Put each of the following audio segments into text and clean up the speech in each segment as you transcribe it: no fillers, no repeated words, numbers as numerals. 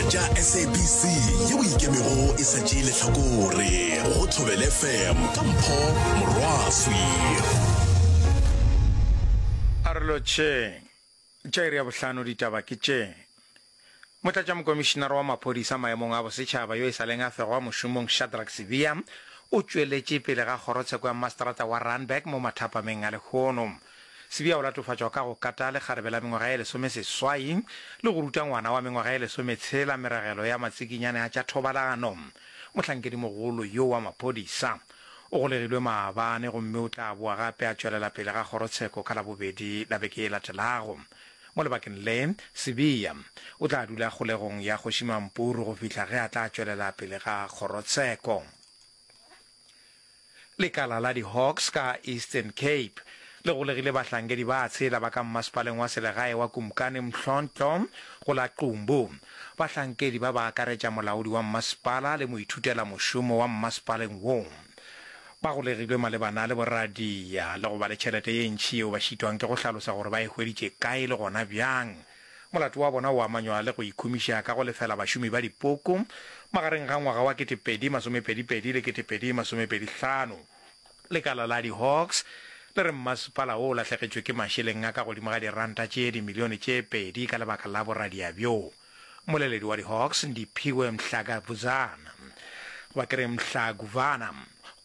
tša SABC yeo e ikemego e sa tšee lehlakore go Thobela FM ka Mpho Morwaswi. A re lotšheng. Tša iri ya bohlano ditaba ke tše. Motlatšamokomišinara wa maphodisa maemong a bosetšhaba yo e sa leng a fegwa mošomong Shadrack Sibiya o tšweletše pele ga kgorotsheko ya maseterata wa Randburg mo mathapameng a lehono. Sibiya o latofatšwa ka go kata lekgarebe la mengwaga ye lesomeseswai le go ruta ngwana wa mengwaga ye lesometshela meragelo ya matsikinyane a tša thobalano. Mohlankedimogolo yo wa maphodisa o golegilwe maabane gomme o tla boa gape a tšwelela pele ga kgorotsheko ka Labobedi la beke e latelago. Mo lebakeng le, Sibiya o tla dula kgolegong ya Kgoši Mampuru go fihla ge a tla tšwelela pele ga kgorotsheko. Lekala la di-Hawks ka Eastern Cape le golegile bahlankedi ba tshela ba ka mmasepaleng wa selegae wa Kumkani Mhlontlo go la Qumbu. Bahlankedi ba ba akaretša molaodi wa mmasepala le moithutelamošomo wa mmasepaleng wo. Ba golegilwe malebana le boradia le go ba le tšhelete ye ntši yeo ba šitwang ke go hlalosa gore ba e hweditše kae le gona bjang. Molato wa bona o amanywa le go ikhumiša ka go lefela bašomi ba dipoko magareng ga ngwaga wa 2022 le 2025. Lekala la di-Hawks le re mmasepala wo o lahlegetšwe ke mašeleng a ka godimo ga diranta tše dimilione tše pedi ka lebaka la boradia bjo. Mmoleledi wa di-Hawks, Ndiphiwe Mhlakavuzana, goba ke re Mhlakuvana,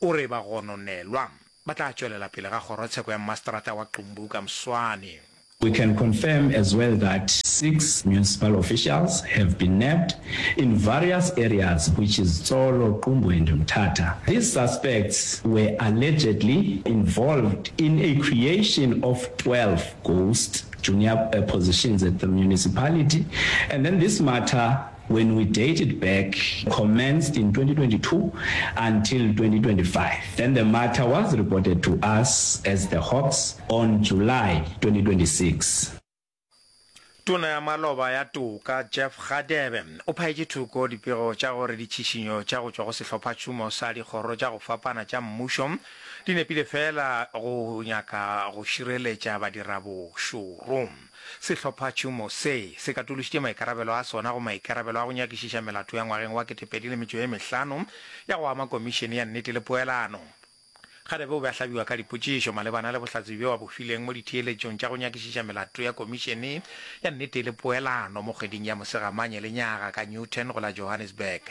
o re bagononelwa ba tla tšwelela pele ga kgorotsheko ya mmaseterata wa Qumbu ka moswane. We can confirm as well that six municipal officials have been nabbed in various areas which is Tsolo, Qumbu and Mthatha. These suspects were allegedly involved in a creation of 12 ghost junior positions at the municipality and then this matter when we date it back commenced in 2022 until 2025. Then the matter was reported to us as the Hawks on July 2026. Tona ya maloba ya Toka, Jeff Radebe, o phaetše thoko dipego tša gore ditšhišinyo tša go tšwa go sehlophatšhomo sa dikgoro tša go fapana tša mmušo di nepile feela go nyaka go šireletša badirabošoro. Sehlophatšhomo se se katološitše maikarabelo a sona go maikarabelo a go nyakišiša melato ya ngwageng wa 2005 ya go ama Komišene ya Nnete le Poelano. Radebe o be a hlabiwa ka dipotšišo malebana le bohlatse bjo a bo fileng mo ditheeletšong tša go nyakišiša melato ya Komišene ya Nnete le Poelano mo kgweding ya Mosegamanye lenyaga ka Newton go la Johannesburg.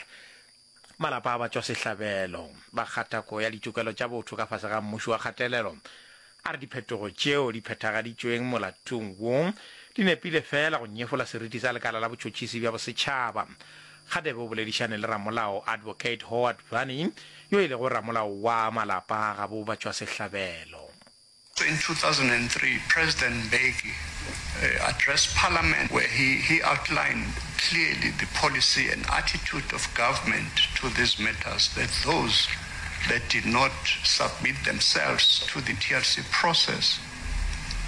Malapa a batšwasehlabelo ba kgatako ya ditokelo tša botho ka fase ga mmušo wa kgatelelo a re diphetogo tšeo di phethagaditšweng molatong wo di nepile feela go nyefola seriti sa lekala la botšhotšhisi bja bosetšhaba. Kgadebe o boledišane le ramolao Advocate Howard Vanny yo e lego ramolao wa malapa a gabo batšwasehlabelo. In 2003, President Mbeki uh, addressed Parliament where he, he outlined clearly the policy and attitude of government to these matters, that those that did not submit themselves to the TRC process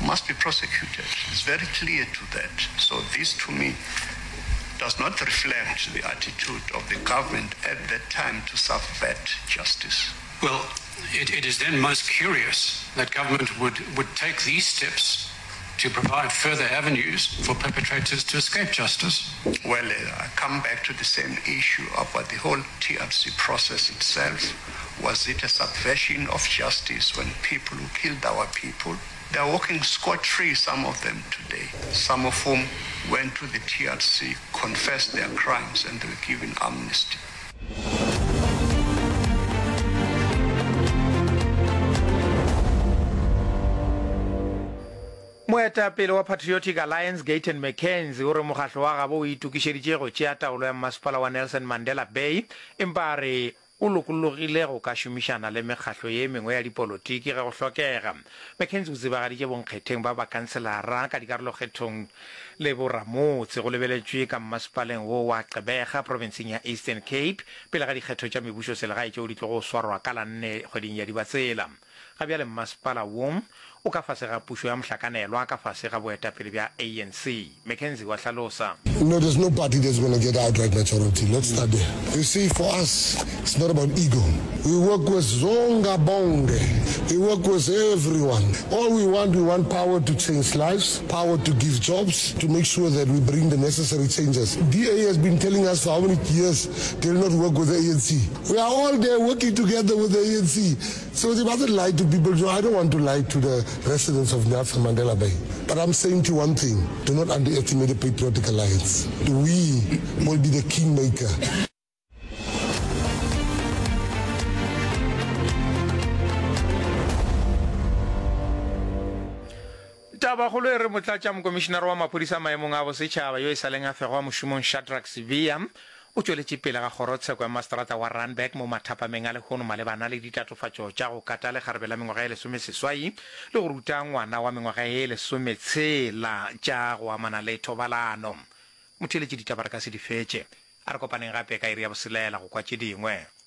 must be prosecuted. It's very clear to that. So this, to me, does not reflect the attitude of the government at that time to subvert justice. Well, it, it is then most curious that government would, would take these steps to provide further avenues for perpetrators to escape justice. Well, uh, I come back to the same issue about the whole TRC process itself. Was it a subversion of justice when people who killed our people, they are walking scot-free, some of them today, some of whom went to the TRC, confessed their crimes, and they were given amnesty. Moetapele wa Patriotic Alliance Gayton McKenzie o re mokgahlo wa gabo o itokišeditše go tšea taolo ya mmasepala wa Nelson Mandela Bay empa a re o lokologile go ka šomišana le mekgahlo ye mengwe ya dipolotiki ge go hlokega. McKenzie o tsebagaditše bonkgetheng ba bakanselara ka dikarolokgethong le boramotse go lebeletšwe ka mmasepaleng wo wa Gqeberha profenseng ya Eastern Cape pele ga dikgetho tša mebušoselegae tšeo di tlogo swarwa ka la nne kgweding ya Dibatsela. Ga bjale mmasepala wo o ka fase ga pušo ya mohlakanelwa ka fase ga boetapele bja ANC, McKenzie wa hlalosa. No, there's no party that's gonna get outright majority. Let's start there. You see, for us, it's not about ego. We work with Zonga Bonge. We work with everyone. All we want, we want power to change lives, power to give jobs, to make sure that we bring the necessary changes. DA has been telling us for how many years they'll not work with the ANC. We are all there working together with the ANC. So they mustn't lie to people. I don't want to lie to the residents of Nelson Mandela Bay. But I'm saying to you one thing, do not underestimate the Patriotic Alliance. We will be the kingmaker. Tabakgolo e re Motlatšamokomišinara wa maphodisa maemong a bosetšhaba yo e sa leng a fegwa mošomong Shadrack Sibiya o tšweletše pele ga kgorotsheko ya maseterata wa Randburg mo mathapameng a lehono malebana le ditatofatšo tša go kata lekgarebe la mengwaga ye lesomeseswai le go ruta ngwana wa mengwaga ye lesometshela tša go amana le thobalano. Motheeletši ditaba re ka se di fetše. A re kopaneng gape ka iri ya boselela go kwa tše dingwe.